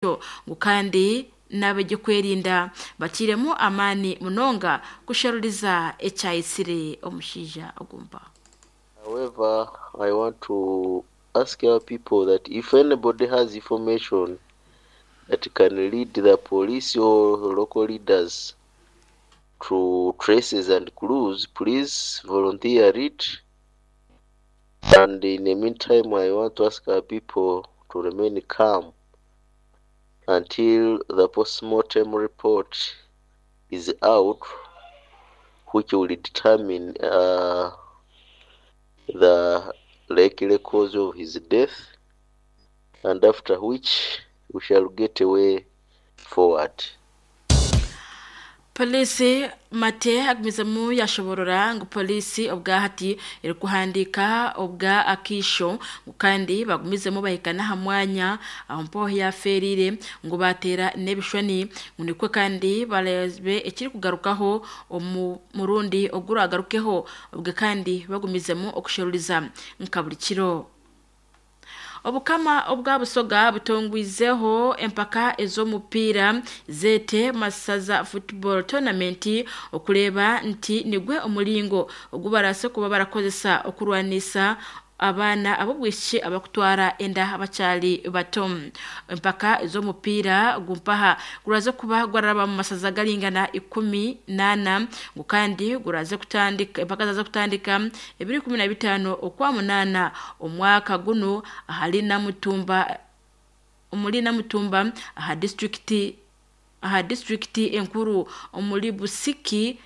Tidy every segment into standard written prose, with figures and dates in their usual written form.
Ngu kandi n'ab'ebyokwerinda batairemu amaani munonga kusheruriza ekyayitsire omushaija ogu mpaho. However, I want to ask our people that if anybody has information that can lead the police or local leaders to traces and clues, please volunteer it. And in the meantime, I want to ask our people to remain calm until the postmortem report is out, which will determine the likely cause of his death, and after which we shall get a way forward. Poliisi Mate agumizemu yashoborora ngu poliisi obwahati erikuhandiika obwa akaisho ngu kandi bagumizemu bahika n'aha mwanya aho mpaho yafeerire ngu bateera n'ebishushani ngu nikwo kandi bareebe ekirikugarukaho omu murundi oguragarukeho obwe kandi bagumizemu okusheruriza nka buri kiro. Obukama obwa Busoga butongwizeho empaka ez'omupiira zeete Masaza Football Tournament okureeba nti nigwe omuringo ogu baraase kuba barakozesa okurwanisa abaana ab'obwishiki abakutwara enda bakyari bato. Empaka ez'omupiira gumpaha guraze kuba gwararaba mu masaza garingana 14 ngu kandi guraze kutandika empaka zaza kutandika 2015 okwa 8 omwaka guno ahari Namutumba omuri Namutumba aha disitulikiti enkuru omuri Busiki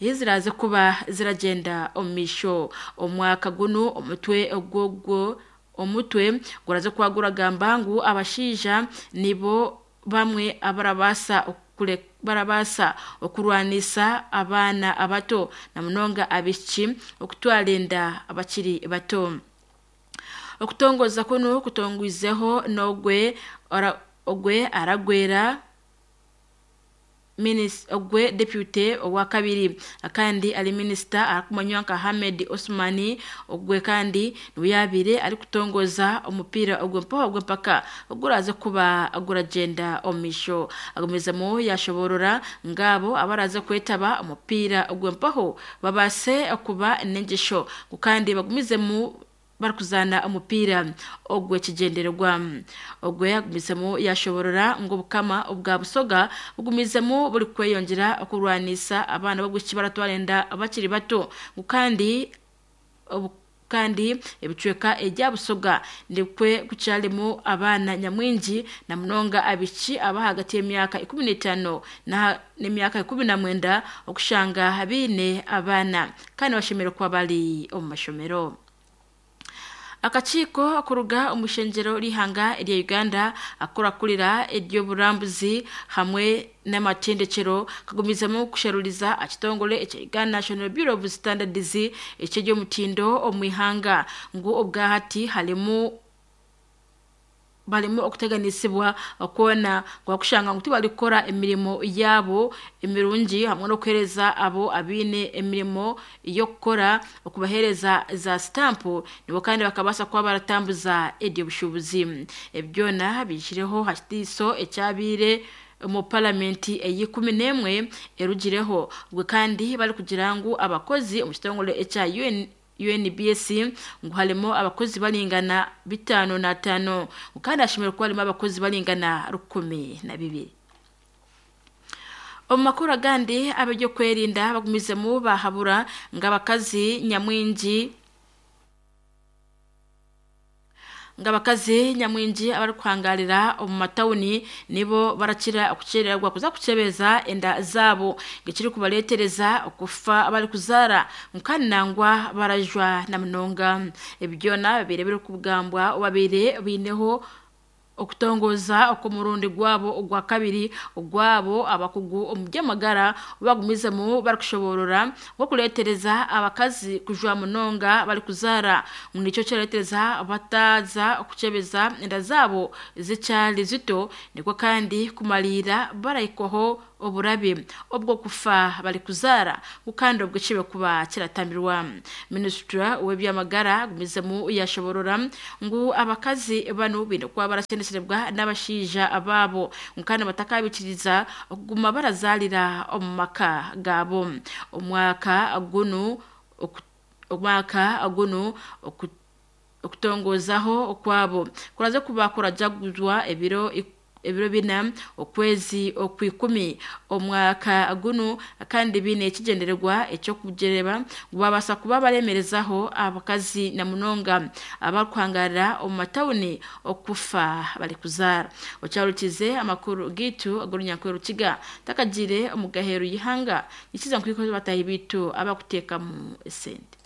ziraze kuba ziragyenda omu maisho. Omwaka guno omutwe ogwo omutwe guraze kuba guragamba ngu abashaija nibo bamwe abarabaasa okurwanisa abaana abato na munonga abaishiki okutwara enda abakiri bato. Okutongoza kunu kutongwizeho n'ogwe ogwe aragwera ogwe deputy owa kabiri kandi ari minisita arikumanywa nka Ahmed Osmani ogwe kandi niwe yabaire arikutongoza omupiira ogwe mpaho ogw'empaka oguraze kuba guragyenda omu maisho. Agumizemu yashoborora ngabo abaraze kwetaba omupiira ogwe mpaho babaase kuba n'engyesho ngu kandi bagumizemu barikuzaana omupiira ogw'ekigyendererwa. Ogwe agumizemu yashoborora ngu obukama obwa Busoga bugumizemu buri kweyongyera okurwanisa abaana b'obwishiki baratwara enda bakiri bato ngu kandi ebicweka ebya Busoga nikwe kukyarimu abaana nyamwingi na munonga abaishiki ab'ahagati y'emyaka 15 n'emyaka 19 okushanga baine abaana kandi bashemereire kuba bari omu mashomero. Akakiiko kuruga omu ishengyero ry'eihanga erya Uganda akurakurira ery'oburambuzi hamwe n'amatendekero kagumizemu kusheruriza ekitongore ekya Uganda National Bureau of Standards eky'eby'omutindo omu ihanga ngu obwahati harimu barimu okuteganisibwa kwona kushanga ngu tibarikukora emirimo yaabo emirungi hamwe n'okuheereza abo abaine emirimo y'okukora okubaheereza za sitampu nibo kandi bakabaasa kuba baratambuza eby'obushuubuzi. Ebi byona biihireho aha kitiiso ekyabaire omu paramenti eya 11 erugireho obwe kandi barikugira ngu abakozi omu kitongore ekya UNBS ngu harimu abakozi baringana 55 kandi hashemereire kuba harimu abakozi baringana 12. Omu makuru agandi ab'ebyokwerinda bagumizemu bahabura ngu abakazi nyamwingi abarikuhangarira omu matawuni nibo barakira okukyerererwa kuza kukyebeza enda zaabo ekirikubareetereza okufa abarikuzaara kandi nangwa barajwa na munonga. Ebi byona bibaire birikugambwa babaire baineho okutongoza okw'omurundi gwabo ogwa kabiri ogwabo abakugu omu by'amagara bagumizemu barikushoborora nk'okureetereza abakazi kujwa munonga barikuzaara ngu nikyo kirareetereza bataza kukyebeza enda zaabo zikyari zito nikwo kandi kumariira barahikwaho. oburabe obw'okufa barikuzaara ngu kandi obwo kibe kuba kiratambirwa. Minisitira w'ebyamagara agumizemu yashoborora ngu abakazi banu baine kuba barashendeserwa n'abashaija baabo ngu kandi batakabikiriza okuguma barazarira omu maka gaabo. Omwaka gunu okutongozaho okwabo kuraze kuba kurajaguzwa ebiro 4 okwezi okwikumi omwaka gunu, kandi bine ekigendererwa ekyokugereba ngu babasa kuba baremerezaho abakazi na munonga abakuhangarira omu matawuni okufa barikuzaara. Okyarukize amakuru gitu ag'orunyankore Rukiga takagire omu gaheru y'ihanga nikiza nkwiko batahi bitu abakuteekamu esente.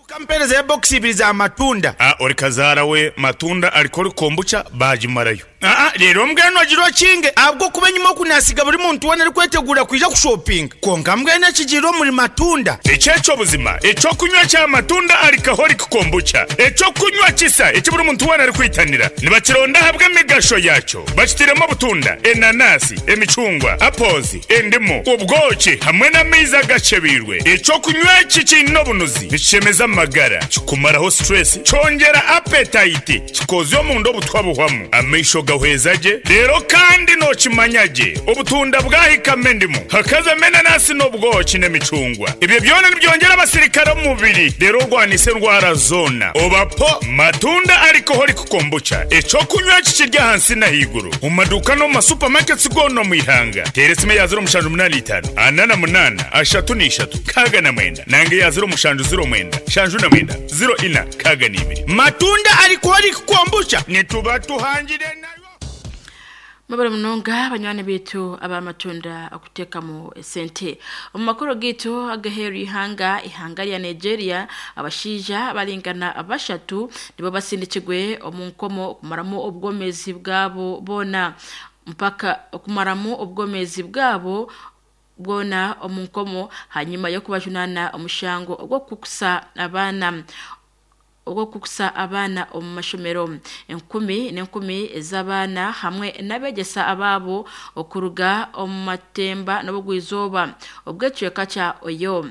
Ukampeereza ebokisi ibiri za matunda. A Ori kazaara we matunda ariko ori kombucha baagimarayo. Aa Reero mbwenu ogire okinge, ahabw'okuba enyima oku naasiga buri muntu weena arikweteguura kwija kushopinga. Kwonka mbwenu ekigiire omuri matunda. Eki eky'obuzima, eky'okunywa kya matunda alcoholic kombucha, eky'okunywa kisa eki buri muntu weena arikwitanira. Nibakironda ahabw'emigasho yaakyo. Bakitairemu obutunda, enanasi, emicungwa, apples, endimu, obwoki hamwe n'amaizi agakyebeirwe. Eky'okunywa eki kiine obunuzi, nikishemeza amagara, kikumaraho stress, kyongyera appetite, kikoozya omunda obutwa buhwamu, amaisho gahweza gye, reero kandi nookimanya gye obutunda bwahikamu endimu, hakazamu enanasi n'obwoki n'emicungwa. Ebyo byona nibyongyera abasirikare omu mubiri reero orwanise endwara zoona. Oba po Matunda Alcoholic Kombucha, eky'okunywa eki kiri ahansi n'ahaiguru omu maduuka n'omu ma supermarkets goona omu ihanga. Teera esimu eya 0785 48 33 69 nanga eya 0709 79 04 62. Matunda Alcoholic Kombucha nituba tuhangire nayo. Mwebale munonga banywani bitu abamatunda okuteekamu esente. Omu makuru gitu agaheeru ihanga ihanga rya Nigeria, abashaija baringana 3 nibo basindikirwe omu nkomo okumaramu obwomezi bwabo boona mpaka okumaramu obwomezi bwabo bwona omu nkomo hanyuma y'okubajunana omushango ogw'okukusa abaana omu mashomero. Enkumi n'enkumi ez'abaana hamwe n'abegyesa abaabo okuruga omu matemba n'obugwizooba obw'ekicweka kya Oyo.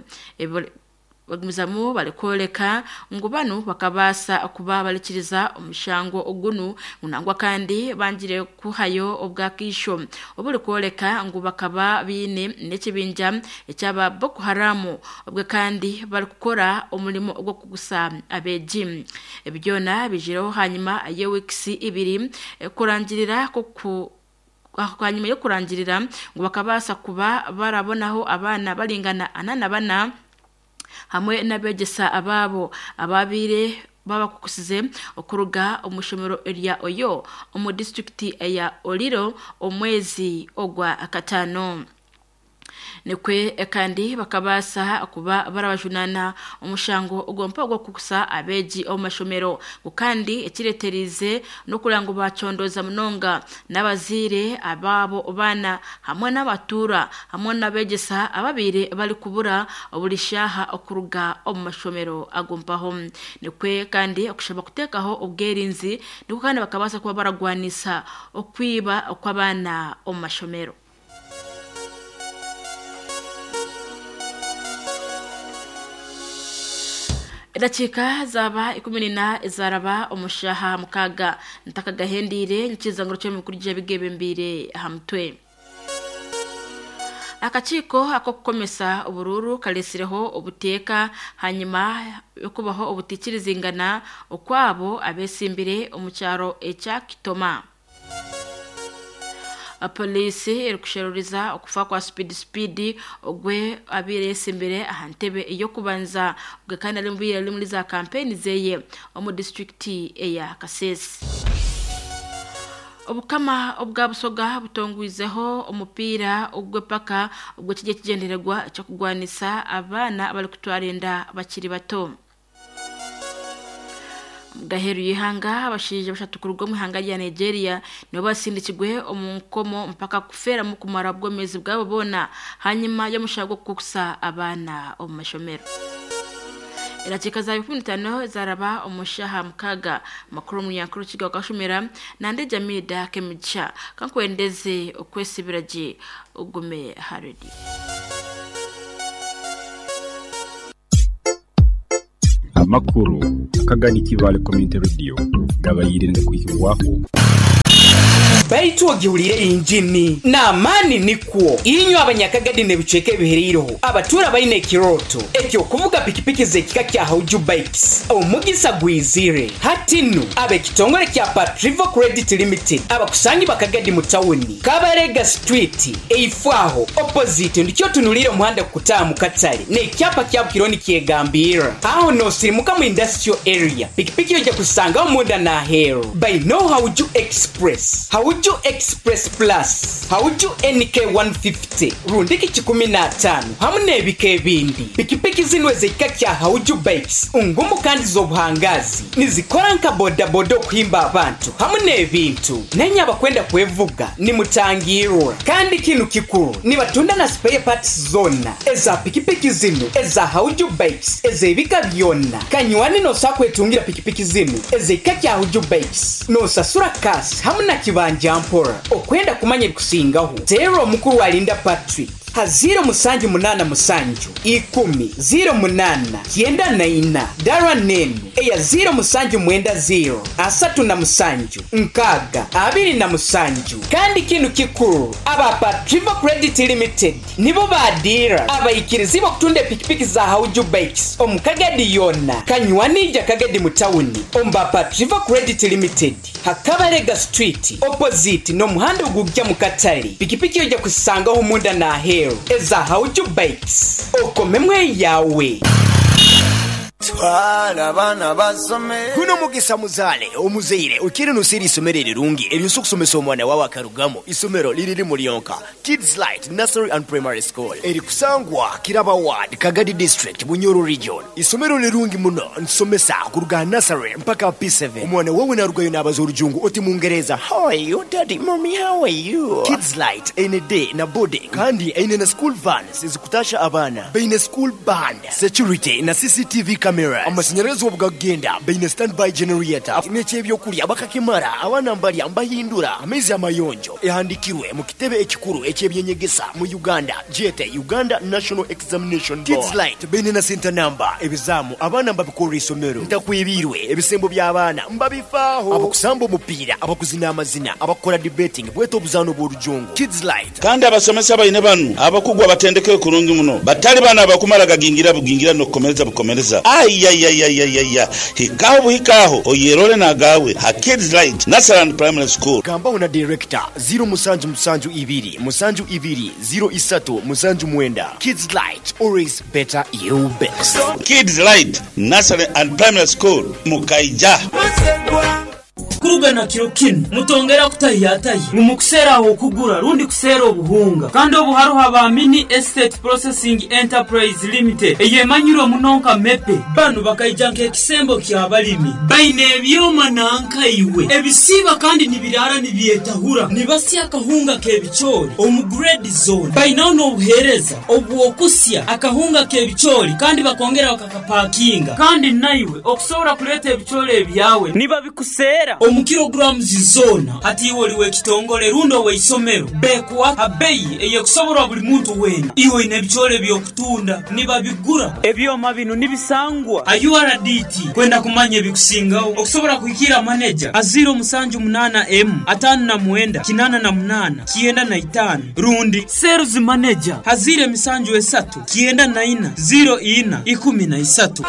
Bagumizamu barikworeka ngu banu bakabaasa kuba barikiriza omushango ogunu nangwa kandi bangire kuhayo obwakisho oburikworeka ngu bakaba biine n'ekibinja ekyaba Boko Haram obwe kandi barikukora omurimo ogw'okugusa abeegi. Ebi byona bijireho hanyuma y'ewiikisi 2 kurangirira hanyuma y'okurangirira ngu bakabaasa kuba barabonaho abaana baringana 44 hamwe n'abegyesa abaabo ababiire babakukusize okuruga omu ishomero rya Oyo omu disitulikiti eya Oriro omwezi ogwa 5. Nikwe kandi bakabaasa kuba barabajunana omushango ogwompa ogw'okukusa abeegi omu mashomero, kandi ekireeterize n'okureba ngu bacondoza munonga n'abazaire abaabo baana hamwe n'abatuura hamwe n'abegyesa ababiire barikubura buri shaaha okuruga omu mashomero agompaho. Nikwe kandi okushaba kuteekaho obwerinzi nikwo kandi bakabaasa kuba baragwanisa okwiba okw'abaana omu mashomero. Edakiika zaba 14 ezaraba omushaha 6 ntakagahendiire nkiza nguru ky'emikurije bigebembiire aha mutwe. Akakiiko ak'okukomesa oburuuru karesireho obuteeka hanyuma y'okubaho obutikirizingana okwabo abesimbire omu kyaro ekya Kitoma. Polisi erikusheruriza okufa kwa Speed ogwe abiire yesimbire aha ntebe ey'okubanza obwe kandi ari mubiire ari muri za kampeni zeye omu disitulikiti eya Kasese. Obukama obwa Busoga butongwizeho omupiira ogw'epaka ogw'ekijya ekigyendererwa eky'okugwanisa abaana abarikutwara enda bakiri bato. Gaheru y'ihanga abashaija 3 kuruga omu ihanga rya Nigeria nibo basindikirwe omu nkomo mpaka kufeeramu kumara obwomezi bwabo boona hanyuma y'omushango gw'okukusa abaana omu mashomero. Erakiika za 15 zaraba omu shaaha 6. Amakuru omunyankuru Kiga Kashumira nande Jamida Kemigisha. Kankwendeze okwesibira gye ogume ha rediyo. Amakuru akagani Kibaale Community Radio gabaire nigakwihibwaho. Baitu ogihuliire yinjini n'amaani nikwo. Inywe Abanyakagadi n'ebicweka ebihereireho abatuura baine ekirooto eky'okuvuga pikipiki z'ekika kya Hauju Bikes, omugisa gwizire. Hati nu, ab'ekitongore kya Patrivo Credit Limited abakusangibwa Kagadi mu tawuni, Kabarega Street, eifo aho, opposite, ndikyo otunuliire omuhanda kukutaaha mu katare n'ekyapa kya Bukiro nikyegambirra. Aho noosirimuka mu Industrial Area, pikipiki oija kuzisangaho munda n'aheeru. Baineo Hauju Express, Hauju Express Plus, Hauju NK 150 rundiki kikumi n'ataano hamu n'ebika ebindi. Pikipiki zinu ez'ekika kya Hauju Bikes ngumu kandi z'obuhangaazi. Nizikora nka bodaboda okuhimba abantu hamu n'ebintu. Nainye abakwenda kwevuga nimutangiirwa. Kandi kinu kikuru, nibatunda na spare parts zoona eza pikipiki zinu eza Hauju Bikes ez'ebika byona. Kanywani noosobola kwetungira pikipiki zinu ez'ekika kya Hauju Bikes noosasura cash hamu na kibanja mpora. Okwenda kumanya ebikusingaho, teera omukuru Alinda Patrick ha ziiro musanju munaana musanju ikumi ziiro munaana kyenda na ina dara n'enu eya ziiro musanju mwenda ziiro 37 6 27. Kandi kinu kikuru, aba Patrivo Credit Limited nibo ba diira abaikirizibwa okutunda epikipiki za Hauju Bikes omu Kagadi yoona. Kanywani ija Kagadi mu tawuni omu ba Patrivo Credit Limited ha Kabarega Street opposite n'omuhanda ogugya mu katare. Pikipiki oija kuzisangaho omunda n'aheeru eza Hauju Bikes. Okomemu eyaawe. Twala abaana basome. Guno mugisa muzaale omuzaire okiire noseera eisomero erirungi eryosa okusomesa omwana wawe akarugamu. Isomero liri limu lyonka, Kids Light Nursery and Primary School erikusangwa Kiraba Ward, Kagadi District, Bunyoro Region. Isomero lirungi muno nitusomesa kuruga aha nursery mpaka aha P7. Omwana wawe narugayo nabaza orujungu oti Mungereza, How are you daddy, mommy how are you? Kids Light eine day na boarding kandi eine na school vans ezikutasha abaana. Baine school band, security na CCTV cameras. Amashanyarazi obu gakugenda baine standby generator n'eky'ebyokurya bakakimara abaana mbarya mbahindura amaizi amayonjo. Ehandikirwe mu kitebe ekikuru eky'ebyenyegesa mu Uganda gyete Uganda National Examination Board. Kids Light baine na center number, ebizaamu abaana mbabikorera eisomero. Ntakwebiirwe ebisembo by'abaana mbabifaaho. Abakusamba omupiira, abakuzina amazina, abakukora debating bwete obuzaano bw'orujungu. Kids Light. Kandi abasomesa baine banu abakugu abatendekere kurungi muno, batali banu abakumara gagingira bugingira n'okukomereza bukomereza. Ayayayayaya! Hikaho buhikaho oyerole n'agaawe ha Kids Light Nursery and Primary School. Gambaho na Director, ziro musanju musanju ibiri musanju ibiri ziro isatu musanju mwenda. Kids Light, always better you best. Kids Light Nursery and Primary School, Mukaija. Kuruga na kiro kinu, mutongera kutahiyatahya ngu mukuseera ah'okugura rundi kuseera obuhunga. Kandi obu haroho aba Mini Estate Processing Enterprise Limited eyemanyirwe muno nka MEPE. Banu bakaija nk'ekisembo ky'abalimi. Baine ebyoma nanka iwe ebisiiba kandi nibiraara nibyetahura. Nibasya akahunga k'ebicoori omu grade zoona. Bainaho n'obuheereza obw'okusya akahunga k'ebicoori kandi bakongera bakakapakinga. Kandi naiwe okusobora kureeta ebicoori ebyawe nibabikuseera omu kilograms zoona. Hati iwe ori w'ekitongore rundi ow'eisomero, bekuha ha beyi ey'ekusoborwa buri muntu weena. Iwe oine ebicoori eby'okutunda, nibabigura. Ebyoma binu nibisangwa ha URDT. Kwenda kumanya ebikusingaho, okusobora kuhikiira maneja ha ziiro musanju munaana emu, 59 88 95 rundi sales manager ha ziiro emisanju esatu, 94 04 13.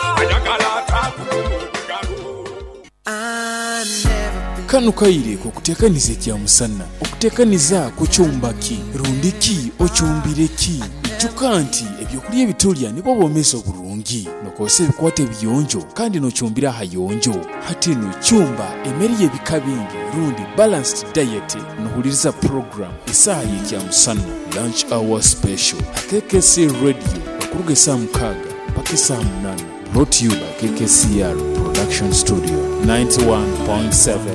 Kanu kaire k'okuteekaniza ekyamusana. Okuteekaniza kucumba ki? Rundi ki ocumbire ki? Ijuka nti ebyokurya ebi turya nibwo bwomeezi oburungi. Nokozesa ebikwato ebiyonjo kandi nocumbira ahayonjo. Hati nu cumba emere y'ebika bingi rundi balanced diet. Nohuliriza program Esaaha y'Ekyamusana, Lunch Hour Special, ha KKC Radio okuruga esaaha mukaaga mpaka esaaha munaana. Brought to you by KKCR Production Studio 91.7.